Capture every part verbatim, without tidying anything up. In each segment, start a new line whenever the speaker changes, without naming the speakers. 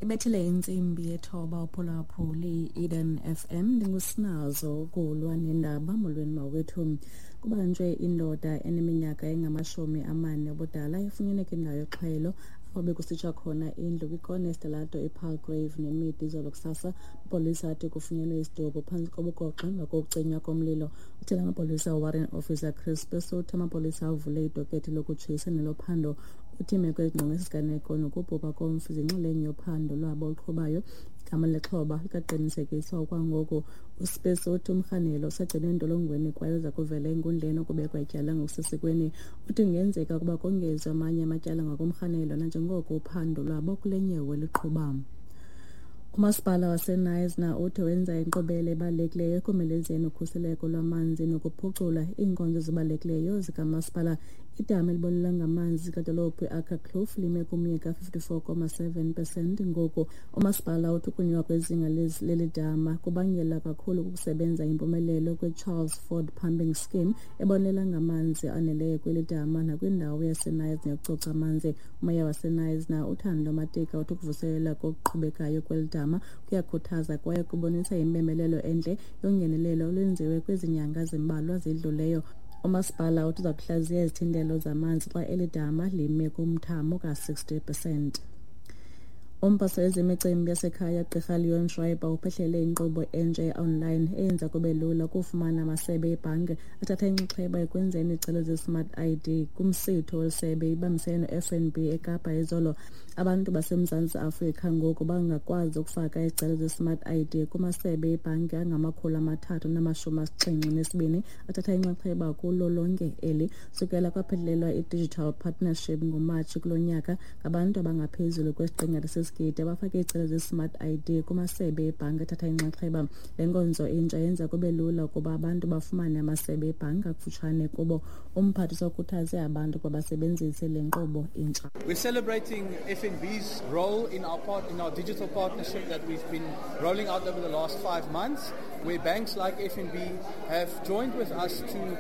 Ibethile intsimbi yethoba uphulaphuli Eden F M. Ndingusinazo ukulwa nendaba. Molweni mawethu. Kubanjwe indoda eneminyaka engamashumi amane obudala efunyenwe kwindawo yoxhwayelo apho bekusitsha khona indlu kwikona yesitalato iPalgrave neMeade izolo kusasa. Amapolisa athi kufunyenwe isidumbu phantsi kobugoxo emva kokucinywa komlilo. Uthela amapolisa uWarrant Officer Chris Pesu uthi amapolisa avule idokethi lokutshisa nelophando. Uthi imeko ezingqonge isiganeko nokubhubha komfi zinxalenye yophando lwabo oluqhubayo. Igama lexhoba likaqinisekiswa okwangoku. USpesu uthi umrhanelwa usagcinwe entolongweni kwaye uza kuvela enkundleni ukubekwa ityala ngokusesikweni. Uthi kungenzeka ukuba kongezwe amanye amatyala ngakumrhanelwa nanjengoko uphando lwabo kule nyewe luqhuba. Umasipala waseKnysna uthi wenza inkqubela ebalulekileyo ekomelezeni ukhuseleko lwamanzi nokuphucula iinkonzo ezibalulekileyo zikamasipala. Idama elibonelela ngamanzi kwidolophu iAkkerkloof lime kumyinge ka-fifty-four point seven pesenti ngoku. Umasipala uthi ukunyuka kwezinga leli dama kubangela kakhulu kukusebenza impumelelo kweCharles Ford Pumping Scheme ebonelela ngamanzi aneleyo kweli dama nakwindawo yaseKnysna yokucoca amanzi. Umeya waseKnysna uThando Matika uthi ukuvuselela kokuqhubekayo kweli dama kuyakhuthaza kwaye kubonisa impembelelo entle yongenelelo olwenziwe kwezi nyanga zimbalwa zidluleyo. Umasipala uthi uza kuhlaziya izithintelo zamanzi xa eli dama lime kumthamo ka-sixty percent. Umphathiswa wezemicimbi yasekhaya Gqirha Leon Schreiber uphehlele inkqubo entsha ye-online eyenza kube lula ukufumana amasebe ebhanki athatha inxaxheba ekwenzeni izicelo ze-Smart I D. Kumsitho wesebe ibambisene no-F N B eKapa izolo, abantu baseMzantsi Afrika ngoku bangakwazi ukufaka izicelo ze-Smart I D kumasebe ebhanki angamakhulu amathathu namashumi asixhenxe nesibini athatha inxaxheba kulo lonke eli. Sukela kwaphelelwa i-Digital Partnership ngoMatshi kulo nyaka, ngabantu abangaphezulu kwesiqingatha sesigidi abafake izicelo ze-Smart I D kumasebe ebhanki athatha inxaxheba. Le nkonzo intsha yenza kube lula ukuba abantu bafumane amasebe ebhanki akufutshane kubo. Umphathiswa ukhuthaze abantu ukuba basebenzise le nkqubo intsha.
We're celebrating F N B's role in our part in our digital partnership that we've been rolling out over the last five months, where banks like F N B have joined with us to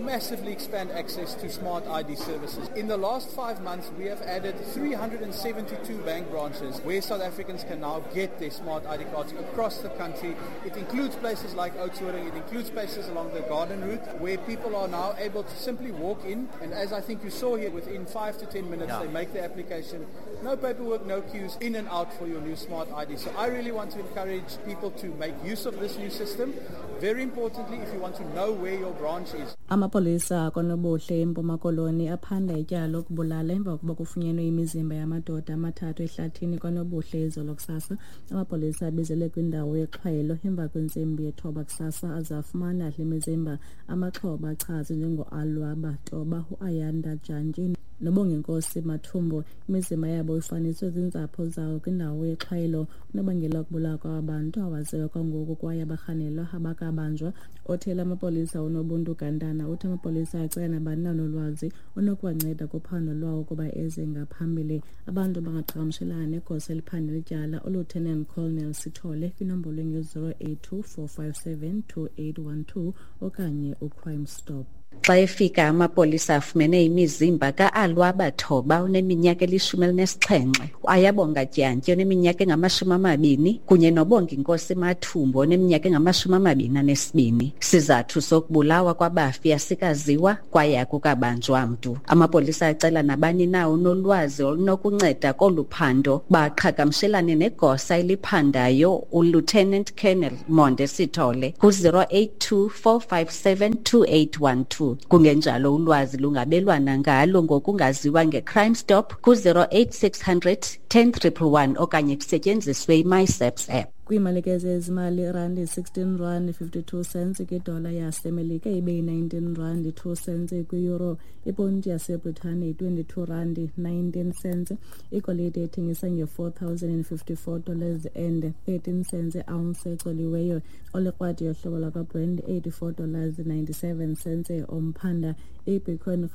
massively expand access to smart I D services. In the last five months, we have added three hundred seventy-two bank branches where South Africans can now get their smart I D cards across the country. It includes places like Oudtshoorn, it includes places along the Garden Route, where people are now able to simply walk in, and as I think you saw here, within five to ten minutes,
Yeah.
they make the application. No paperwork, no queues, in and out for your new smart I D. So I really want to encourage people to make use of this new system. Very importantly, if you want to know where your branch is,
Amapolisa akwaNobuhle eMpuma Koloni aphanda ityala lokubulala emva kokuba kufunyenwe imizimba yamadoda amathathu ehlathini kwaNobuhle izolo kusasa. Amapolisa abizelwe kwindawo yexhwayelo emva kwentsimbi yethoba kusasa aze afumana le mizimba. Amaxhoba achazwe njengoAlwaba Toba, uAyanda Jantyi noBonginkosi Mathumbu. Imizimba yabo ifaniswe ziintsapho zawo kwindawo yexhwayelo. Unobangela wokubulawa kwaba bantu awaziwa kwangoku kwaye abarhanelwa abakabanjwa. Othela amapolisa uNobuntu Gantana uthi amapolisa acela nabani na onolwazi onokuwanceda kuphando lwawo ukuba eze ngaphambili. Abantu bangaqhagamshelana negosa eliphanda ityala uLieutenant Colonel Sithole kwinombolo engu-zero eight two four five seven two eight one two okanye uCrime Stop.
Xa efika amapolisa afumene imizimba ka-Alwaba Thoba oneminyaka elishumi elinesixhenxe, uAyabonga Dyantyi oneminyaka engamashumi amabini kunye noBonginkosi Mathumbu oneminyaka engamashumi amabini anesibini. Sizathu sokubulawa kwabafi asikaziwa kwaye akukabanjwa mntu. Amapolisa acela nabani na onolwazi olunokunceda kolu phando baqhagamshelane negosa eliphandayo uLieutenant Colonel Monde Sithole ku-zero eight two four five seven two eight one two. Kungenjalo ulwazi lungabelwana ngalo ngokungaziwa ngeCrime Stop ku-zero eight six hundred ten triple one okanye kusetyenziswe iMySAPS app.
Kwiimalike zezimali, irandi sixteen rand fifty-two cents kwidola yaseMelika, ibe yi-nineteen rand two cents kwi-euro. Iponti yaseBritane yi-twenty-two rand nineteen cents. Igolide ethengisa nge-four thousand and fifty-four dollars and thirteen cents ounce ecoliweyo. Olikrwadi yohlobo lwakwaBrent eighty-four dollars ninety-seven cents omphanda. Ibitcoin